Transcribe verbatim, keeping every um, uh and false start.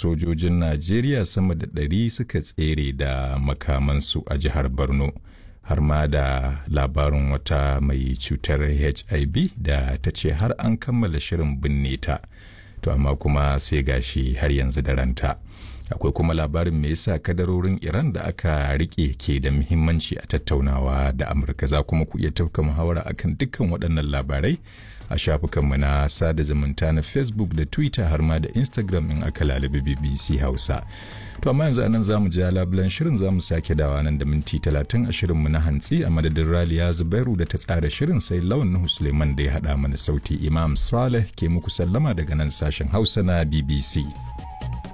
Sojojin Najeriya sama da ɗari suka tsere da makamansu a jihar Borno. Har ma da labarin wata mai cutar H I V da ta ce har an kammala shirin binne ta. To amma kuma sai gashi har yanzu da ranta. Akwai kuma labarin me yasa kadarorin Iran da aka rike ke da muhimmanci a tattaunawa da Amurka. Za kuma ku iya tafka muhawara akan dukkan waɗannan labarai a shafukanmu na sada zumunta na Facebook da Twitter har ma da Instagram in aka lalabi B B C Hausa. To amma yanzu anan zamu ji labulan shirin, zamu sake dawa nan da minti talatin a shirinmu na hantsi. A madadin Raliya Zubairu da ta tsara shirin, sai Lawan Nuhu Suleiman da ya haɗa mana sauti, Imam Saleh ke muku sallama daga nan sashen Hausa na B B C.